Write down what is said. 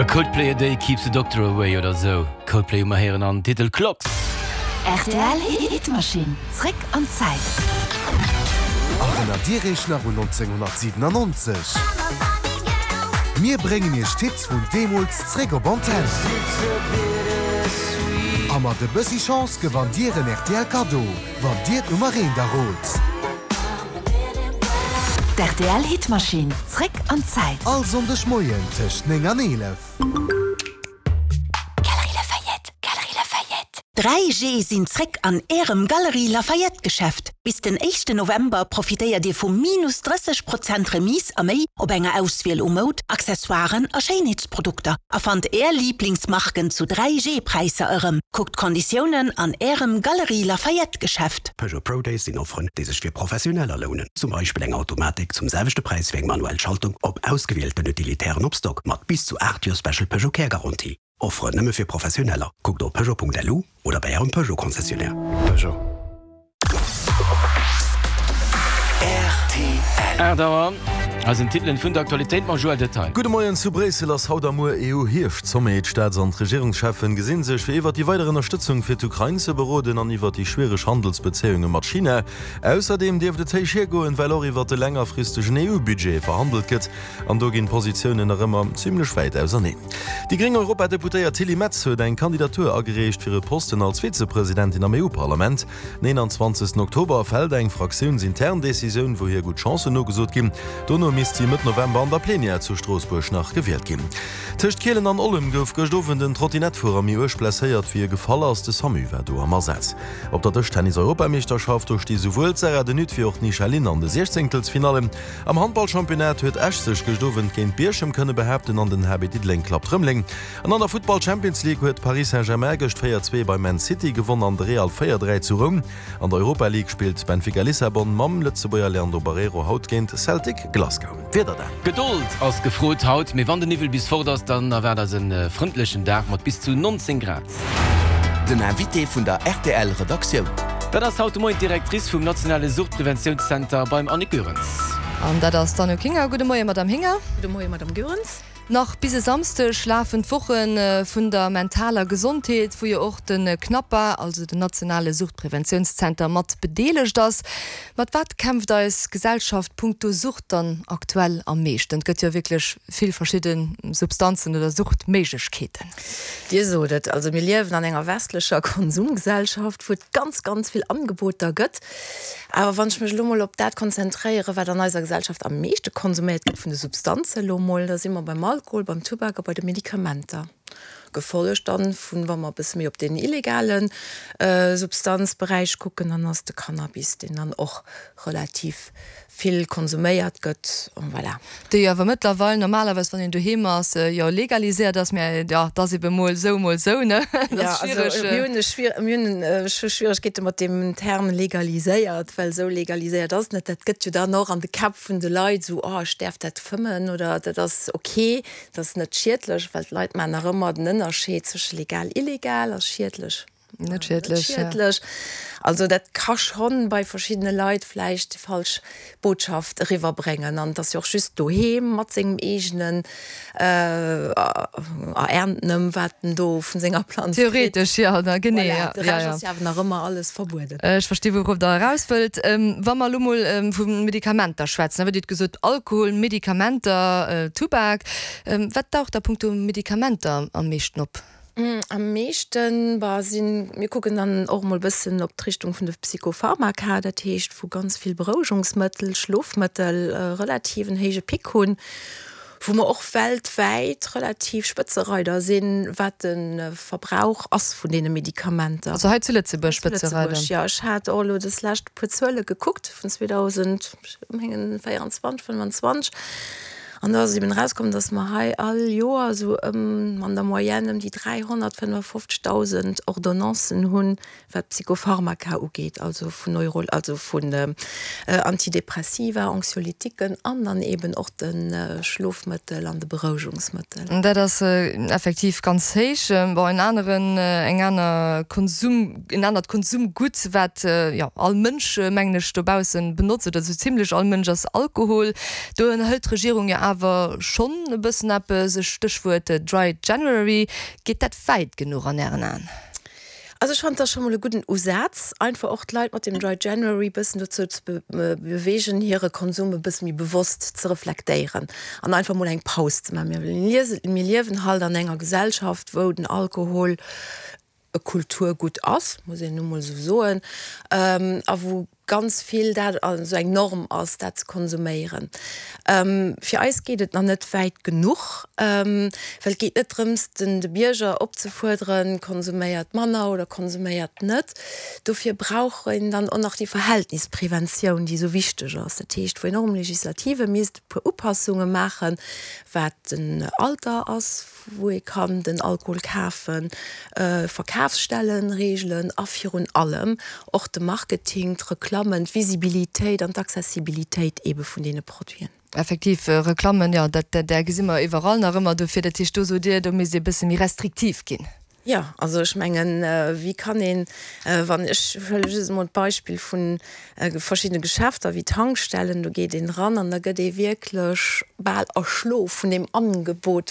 A Coldplay a day keeps the doctor away oder sou. Coldplay hu mer héieren an Titel Clocks. Rtl Hitmaschinn, zréck an d'Zäit. Erënnert Dir Iech nach un 1997? Mir bréngen Iech d'Hits vun deemools zréck op Antenn. A mat e bëssi Chance gewannt Dir en rtl Kaddo, wann Dir d'Nummer eent errot. D'RTL Hitmaschinn, zréck an d'Zäit. All Sonndeg Moien tëscht 9 an 11. Galerie Lafayette, Galerie Lafayette. 3G sinn zréck an Ärem Galerie Lafayette Geschäft. Bis den éischten November profitéiert Dir vu minus 30 Prozent Remise a méi op enger Auswiel u Moud, Accessoiren a Schéinheetsprodukter a fannt Är Liiblingsmarken zu 3G Präisser erëm. Kuckt d'Konditiounen an Ärem Galerie Lafayette Geschäft. Peugeot Pro Days sinn Offeren, déi sech fir Professioneller lounen. Zum Beispill eng Automatik zum selwechte Präis wéi eng manuell Schaltung op ausgewielten Utilitären op Stock mat bis zu 8 Joer Special Peugeot Care Garantie. Offeren nëmme fir Professioneller. Kuckt op peugeot.lu oder bei Ärem Peugeot Concessionnaire. Peugeot. Rtl. 8 Auer, eisen Titelen vun der Aktualitéit mam Joël Detaille. Gudde Moien, Zu Bréissel ass haut a muer EU-Hierscht-Sommet. D'Staats an d'Regierungscheffen gesinn sech, fir iwwert déi weider Ënnerstëtzung fir d'Ukrain ze beroden an iwwert déi schwiereg Handelsbezéiunge mat China. Ausserdeem dierft et héich hiergoen, well och iwwert de längerfristegen EU-Budget verhandelt gëtt. An do ginn d'Positiounen nach ëmmer zimmlech wäit auserneen. Déi gréng Europadeputéiert Tilly Metz huet eng Kandidatur agereecht fir e Posten als Vizepresidentin am EU-Parlament. Den 21 Oktober fält eng fraktiounsintern Decisioun, wou hir gutt Chancen nogesot ginn. Dono misst si Mëtt November an der Plenière zu Stroossbuerg nach gewielt ginn. Tëscht Kielen an Ollem gouf gëscht Owend en Trottinettfuerer méi uerg blesséiert, wéi e gefall ass. De Samu war do am Asaz. Op der Dëschtennis-Europameeschterschaft, do sti souwuel d'Sarah de Nutte wéi och d'Nisha Lin an de Siechzéngtelsfinallen. Am Handballchampionnat huet Esch sech gëscht Owend géint Bierchem kënne behaapten an den HB Diddeleng klappt Rëmeleng. An an der Futtball Champions League huet Paris Saint-Germain gëscht 4, 2 bei Man City gewonn an de Real 4, 3 zu Roum. An der Europa League spillt Benfica Lissabon mam Lëtzebuerger Leandro Barreiro haut géint Celtic Glasgow. D'Wieder dann. Gedold ass gefrot haut, mee wann de Niwwel bis fort ass, dann erwaart eis en frëndlechen Dag mat bis zu 19 Grad. Den Invité vun der rtl Redaktioun. Dat ass haut de Moien d'Directrice vum nationale Suchtpreventiounszenter beim Annick Goerens. An dat ass d'Anouk Hinger. Gudde Moie Madame Hinger. Gudde Moie Madame Goerens. Nach bis e Samsdeg lafen d'Woche vun der mentaler Gesondheet, wou jo och de CNAPA, also den nationale Suchtpreventiounszenter, mat bedeelegt ass. Mat wat kämpft eis Gesellschaft punkto Sucht dann aktuell am meeschten? Et gëtt jo wierklech vill verschidde Substanzen oder Suchtméiglechkeeten. Dir sot et, also mir liewen an enger westlecher Konsumgesellschaft, wou et ganz, ganz vill Angeboter gëtt. Awer wann ech mech elo mol op dat konzentréieren, wat an eiser Gesellschaft am meeschte konsuméiert gëtt vun de Substanzen elo mol, da si mer beim Alkohol, beim Tubak a bei de Medikamenter, gefollegt dann vun, wa mer e bësse méi op deen illegale Substanzberäich kucken, dann ass de Cannabis, deen dann och relativ vill konsuméiert gëtt. Voilà. Déi awer mëttlerweil normalerweis, wann een doheem ass, jo legaliséiert ass, mä jo, et ass ebe mol esou, mol esou, ne? Dat ass schwiereg. Jo, also mir hunn e schwier, mir hunn scho Schwieregkeete mat deem Term legaliséiert, well esou legaliséiert ass et net. Dat gëtt jo dann och an de Käpp vun de Leit esou, oh ech däerf dat fëmmen oder dat ass ok, dat ass net schiedlech, well d'Leit maachen nach ëmmer den Ënnerscheed zwësche legal, illegal a schiedlech. Net schiedlech. Schiedlech. Also dat ka schonn bei verschiddene Leit vläicht déi falsch Botschaft eriwwerbréngen. An et ass jo och just doheem mat sengem eegenen Ererntenem, wat en do vun senger Planz kritt. Theoretesch, jo, da genee, jo. Voilà, de Rescht ass jo awer nach ëmmer alles verbueden. Ech versti wourof Der eraus wëllt. Wa mer elo mol vu Medikamenter schwätzen, da hutt Dir gesot, Alkohol, Medikamenter, Tubak. Wat daucht da punkto Medikamenter am meeschten op? Am meeschten, bah, sinn, mir kucken dann och emol bëssen op d'Richtung vun de Psychopharmaka, dat heescht wou ganz vill Berouegungsmëttel, Schlofmëttel relativ en héije Pic hunn, wou mer och weltwäit relativ Spëtzereider sinn, wat de Verbrauch ass vun deene Medikamenter. Also hei zu Lëtzebuerg Spëtzereider? Zu Lëtzebuerg, jo. Ech hat och elo des lescht e puer Zuele gekuckt vun 2024, 25. An do ass eben erauskomm, dass mer hei all Joer esou ëm, an der Moyenne ëm déi 355.000 Ordonnancen hunn, wat Psychopharmaka ugeet, also vun Neuro, also vun Antidepressiva, Anxiolytiquen an dann eben och de Schlofmëttel an de Berouegungsmëttel. Dat ass effektiv ganz héich. Bon, en aneren, eng aner Konsum, en anert Konsumgutt, wat, jo, all Mënsch, mengen ech, dobaussen benotzt, oder esou zimlech all Mënsch, ass Alkohol. Do ënnerhëlt d'Regierung jo awer. awer schonn e bëssen eppes, e Stéchwuert Dry January. Geet dat wäit genuch an Ären Aen? Also ech fannen, et ass scho mol e gudden Usaz, einfach och d'Leit mat dem Dry January bëssen dozou ze beweegen, hire Konsum e bësse méi bewosst ze reflektéieren an einfach mol eng Paus ze maachen. Mir liewen halt an enger Gesellschaft, wou den Alkohol e Kulturgutt ass, muss een nu mol esou soen, a wou ganz vill dat esou eng Norm ass, dat ze konsuméieren. Fir eis geet et nach net wäit genuch, well et geet net drëms, den de Bierger opzefuerderen, konsuméiert manner oder konsuméiert net. Dofir brauch een dann och nach déi Verhältnispreventioun, déi esou wichteg ass. Dat heescht, wou een och um Legislative misst e puer Upassunge maachen, wat den Alter ass, wou ee kann den Alkohol kafen, Verkafsstellen reegelen a virun allem och de Marketing, d'Reklammen, d'Visibilitéit an d'Accessibilitéit eebe vun deene Produiten. Effektiv, Reklammen, jo, dat där gesi mer iwwerall nach ëmmer. Dofir, dat heescht, do sot Dir, do misst ee bësse méi restriktiv ginn. Jo, also ech mengen, wéi kann een, wann, ech huele just emol d'Beispill vu verschiddene Geschäfter wéi Tankstellen, do geet een eran an da gëtt ee wierklech bal erschlo vun deem Angebot.